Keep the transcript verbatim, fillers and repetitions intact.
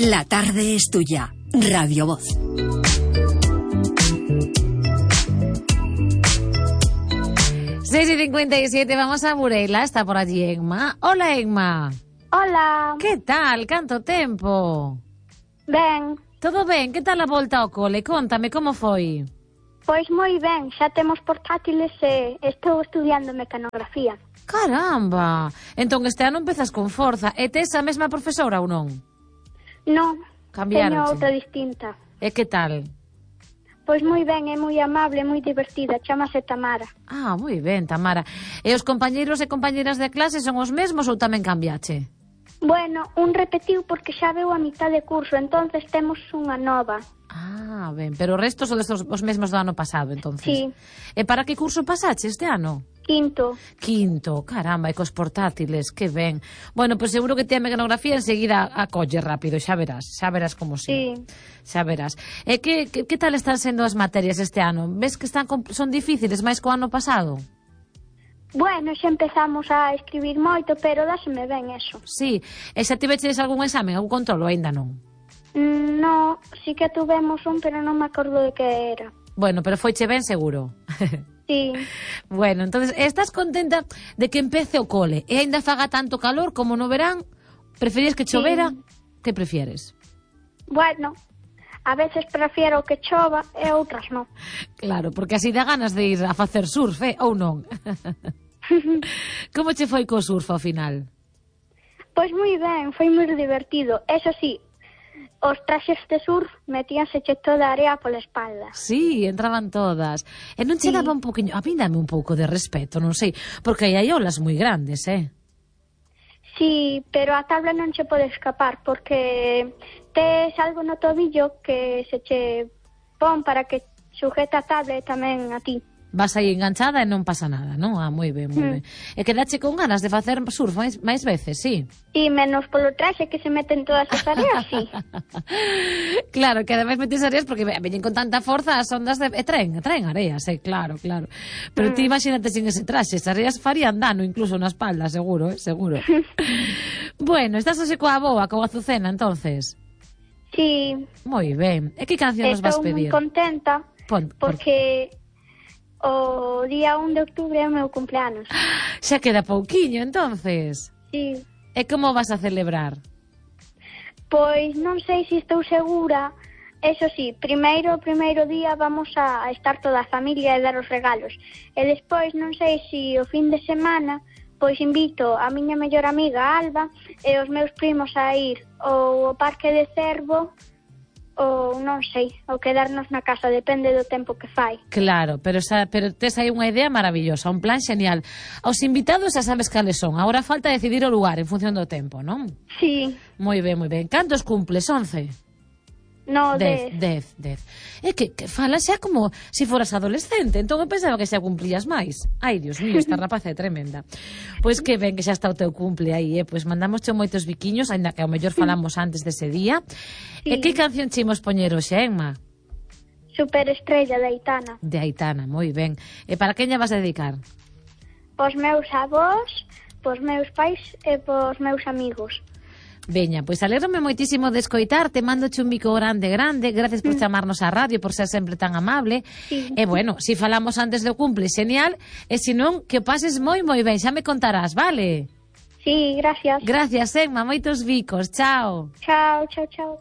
La tarde es tuya. Radio Voz. seis y cincuenta y siete, vamos a Burela, está por allí Emma. Hola, Emma. Hola. Que tal? Canto tempo? Ben. Todo ben? Que tal a volta ao cole? Contame, como foi? Pois moi ben, xa temos portátiles e estou estudiando mecanografía. Caramba! Entón este ano empezas con forza. E tes a mesma profesora ou non? Non, Cambiaronche. teño outra distinta. E que tal? Pois moi ben, é moi amable, moi divertida, chamase Tamara. Ah, moi ben, Tamara. E os compañeiros e compañeiras de clase son os mesmos ou tamén cambiache? Bueno, un repetiu porque xa veu a mitad de curso, entonces temos unha nova. Ah, ben, pero o resto son os, os mesmos do ano pasado, entonces. Sí. E para que curso pasache este ano? Quinto. Quinto, caramba, e cos portátiles, que ben. Bueno, pois pues seguro que te a mecanografía enseguida acolle rápido, xa verás, xa verás como si. Sí. Xa verás. E que, que, que tal están sendo as materias este ano? Ves que están son difíciles máis co ano pasado? Bueno, xa empezamos a escribir moito, pero dáseme ben eso. Sí, e xa tiveches algún examen, algún controlo, aínda non? Mm, no, sí que tuvemos un, pero non me acordo de que era. Bueno, pero foiche ben seguro. Sí. Bueno, entonces, estás contenta de que empece o cole e aínda faga tanto calor como no verán? Preferías que chovera? Sí. Que prefieres? Bueno, a veces prefiero que chova e outras non. Claro, porque así dá ganas de ir a facer surf, eh? Ou non? Como che foi co surf ao final? Pois moi ben, foi moi divertido. Eso sí, os traxes de surf metíanse che toda a area pola espalda. Sí, entraban todas. E non che Sí. daba un poquinho... A mí dame un pouco de respeto, non sei, porque aí hai olas moi grandes, eh? Sí, pero a tabla non che pode escapar, porque tes algo no tobillo que se che pon para que sujeta a tabla e tamén a ti. Vas aí enganchada e non pasa nada, non? Ah, moi ben, moi Mm. ben. E quedache con ganas de facer surf máis, máis veces, sí? E menos polo traxe que se meten todas as areas, sí. Claro, que ademais metes areas porque veñen con tanta forza as ondas de... E traen, traen areas, eh, claro, claro. Pero mm. ti imagínate sin ese traxe, as areas farían dano incluso na espalda, seguro, eh, seguro. Bueno, estás así coa boa, coa Azucena, entonces? Sí. Moi ben. E que canción nos vas pedir? Estou moi contenta Pon, por... porque o día un de outubro é o meu cumpleanos. Xa queda pouquiño, entonces. Sí. E como vas a celebrar? Pois non sei se estou segura. Eso sí, primeiro o primeiro día vamos a estar toda a familia e dar os regalos. E despois non sei se o fin de semana pois invito a miña mellor amiga Alba e os meus primos a ir ou ao Parque de Cervo ou non sei, ou quedarnos na casa, depende do tempo que fai. Claro, pero, xa, pero tes aí unha idea maravillosa, un plan xenial. Aos invitados xa sabes cales son, agora falta decidir o lugar en función do tempo, non? Sí. Moi ben, moi ben. Cantos cumples? Once? No, dez. Dez, dez. É que, que falas xa como se si foras adolescente, entón eu pensaba que xa cumplías máis. Ai, Dios mío, esta rapaza é tremenda. Pois que ben que xa está o teu cumple aí, eh? Pois mandamos moitos biquiños, ainda que ao mellor falamos antes dese día. Sí. E que canción che imos poñer hoxe, Emma? Superestrella de Aitana. De Aitana, moi ben. E para quen lla vas a dedicar? Pos meus avós, pos meus pais e pos meus amigos. Veña, pois alégrome moitísimo de escoitarte, mándoche un bico grande, grande, gracias por chamarnos á radio, por ser sempre tan amable. Sí. E bueno, si falamos antes do cumple, genial, e se non, que o pases moi moi ben, xa me contarás, vale? Sí, gracias. Gracias, Emma, moitos bicos, chao. Chao, chao, chao.